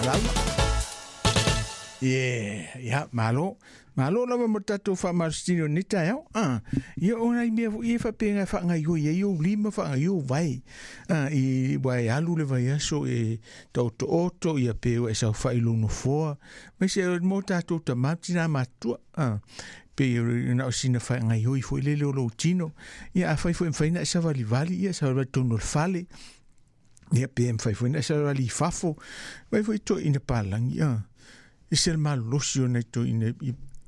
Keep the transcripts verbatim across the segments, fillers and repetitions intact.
Lauga. Yeah, ia, malo. Malo lava mo tatou faamalositino nei taeao. Ah, ia o nai mea foi e faapega e faagaoioi ai ou lima, faagaoioi ou vae. Ah, i ua e alu le vaiaso e taotooto, ia pe ua e saofai i lou nofoa. Aemaise mo tatou tamā ma tinā matutua. Ah, pe na o sina faagaoioi foi lele o lou tino. Ia afai foi e mafai ona e savalivali, ia savalivali totonu o le fale. Ia pe mafai foi ona e savalivali i fafo. Fai foi toeaiina palagi. Ah, e se le malolosi o nai toeaiina.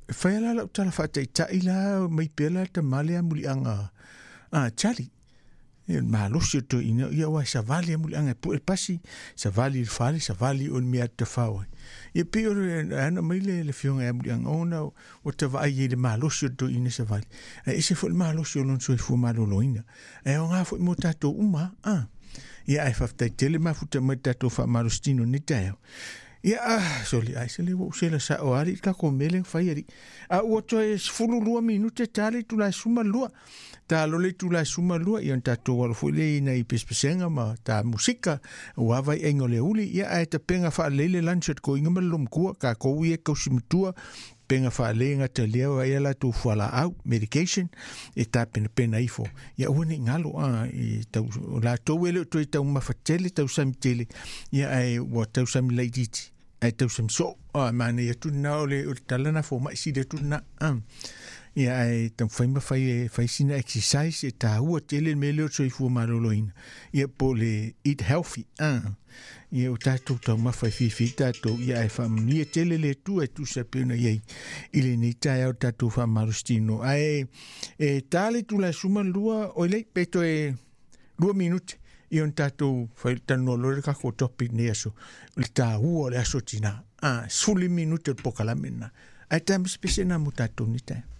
E fai la lau tala faataitai la mai pea la tama lea muliaga a Charlie. E malosi o toeaiina, ia ua e savali a muliaga e pue le pasi, savali i le fale, savali o le mea tafao ai. Ia pei o le ana mai le le afioga ia muliaga ona ua tavaai ai le malosi o le toeaina savali. Ae ese foi le malosi o lona soifua maloloina. Ae aoga foi mo tatou uma. Ah. Ia ae faafetai tele mafuta mai le tatou faamalositino nei taeao. Ia, ah, soli, ai se le ua ou sela sao lava alii le tatou mea lea na fai alii. A ua toe sefulu lua minute ta le itula e sefulu ma lua. Ta alo le itula e sefulu ma lua, ia ona tatou alo foi lea i nai pesepesega ma ta musika, aua vaiaiga o le aoauli. Ia, ae tapega faalelei le lunch a le toeaina ma le loomatua, tatou ia e tausi matua, pega faalelei e gata lea ai a latou fualaau, medication, e tapenapena ifo. Ia aua ne i galo, a, i tau, o latou e le o toe taumafa tele, tausami tele, ia ae ua tausami laitiiti, ae tausami soo. A, manaia atu lena o le, o le tala na fomai sili atu lena. A. Ia ae taumafai ma fai e fai sina exercise e taua tele le mea lea o le soifua maloloina. Ia po o le eat healthy. A. Ia o tatou taumafa e fiafia ai tatou, ia ae faamanuia tele le Atua e tusa pei ona i ai i lenei taeao le tatou faamalositino. Ae e ta le itula e sefulu ma lua, oi lei, pe toe lua minute ia ona tatou fai talanoa loa le tatou topic nei aso, o le taua o le aso tinā. Ah, sefulu minute o le polokalame lena. Ae tamasepese na mo tatou nei taeao.